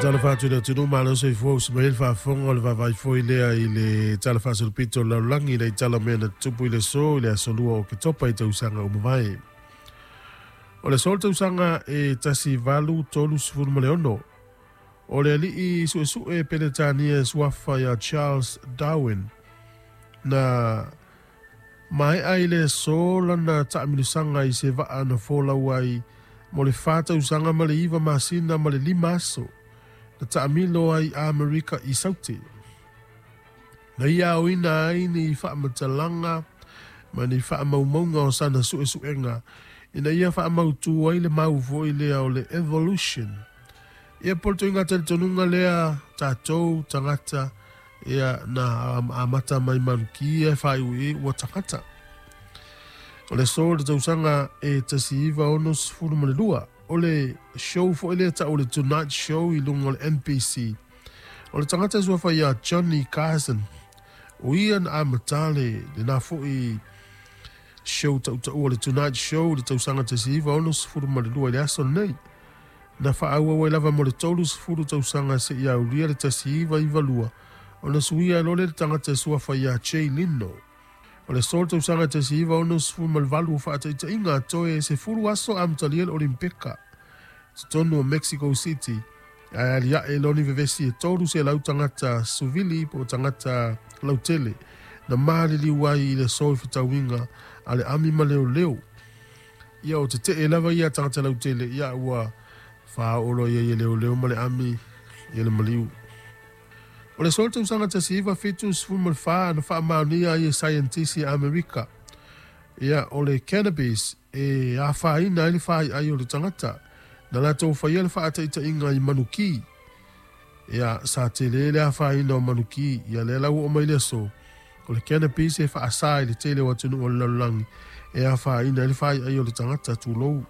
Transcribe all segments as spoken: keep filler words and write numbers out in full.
Tala fatu le tunu malo soifua usi mai le faafofoga o le vaavaai foi lea i le tala faasolopito o le lalolagi i tala o mea na tutupu i le aso i le aso lua o Oketopa i tausaga ua mavae. O le aso o le tausaga e tasi valu tolu sefulu ma le ono. O le alii suesue Peretania e suafa ia Charles Darwin na maea i le aso lana taamilosaga i se vaa na folau ai mo le fa tausaga ma le iva masina ma le lima aso na taamilo ai Amerika i Saute. Na ia aoina ai ni faamatalaga ma ni faamaumauga o sana suesuega ina ia faamautu ai le mau foi lea o le evolution. Ia po o le toiga talitonuga lea tatou tagata ia na amata mai manukia e faaiuiu ua tagata. O le aso le tausaga e tasi iva ono sefulu ma le lua. O le show foi lea tau o le Tonight Show i luga o le N B C. O le tagata suafa ia Johnny Carson. O ia na amata le lena foi show tautaua o le Tonight Show le tausaga tasi iva ono sefulu ma le lua i le aso lenei. Na faaauau ai lava mo le tolu sefulu tausaga seia aulia le tasi iva iva lua. Ona suia loa le tagata suafa ia Jay Leno. O le aso le tausaga tasi iva ono sefulu ma le valu o faataitaiga toe sefulu aso amatalia le Olimpika totonu o Mexico City. Ae aliae loni vevesi e tolu selau tagata suvili po o tagata lautele na maliliu ai i le aso i fetauiga a le ami ma leoleo. Ia o tetee lava ia tagata lautele ia ua faaolo ia i leoleo ma le ami ia le maliu. O le aso le tausaga tasi iva fitu sefulu ma le fa na faamaonia ai e saienitisi a Amerika. Ia o le cannabis e afaina ai le faaiai o le tagata. Na latou faia le faataitaiga i manuki. Ia sa tele le afaina o manuki. Ia lea lau oo mai le aso. O le cannabis e faasā i le tele o atunuu o le lalolagi e afaina ai le faaiai o le tagata tulou.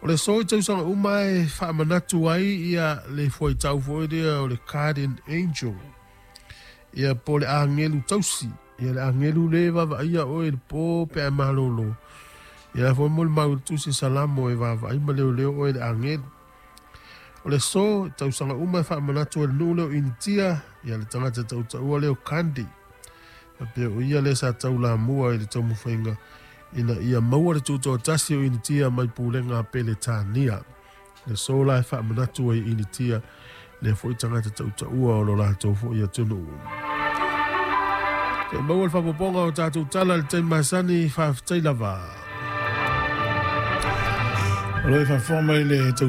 O le aso i tausaga uma e faamanatu ai ia le fuaitau foi lea o le Guardian Angel. Ia po le agelu tausi. Ia le agelu le vaavaaia oe le po pe a malolo. Ia foi mo le mau i le tusi Salamo e vaavaai ma leoleo oe le agelu. O le aso i tausaga uma e faamanatu ai le nuu lea o Initia ia le tagata tautaua lea o Gandhi. Faapea o ia lea sa taulamua i le taumafaiga ina ia maua le tutoatasi o Initia mai pulega a Peretania. Le aso la e faamanatu ai i Initia lea foi tagata tautaua o lo latou foi atunuu. Te maua le faapopoga o tatou tala i le taimi masani, faafetai lava. O lo o faafofoga mai le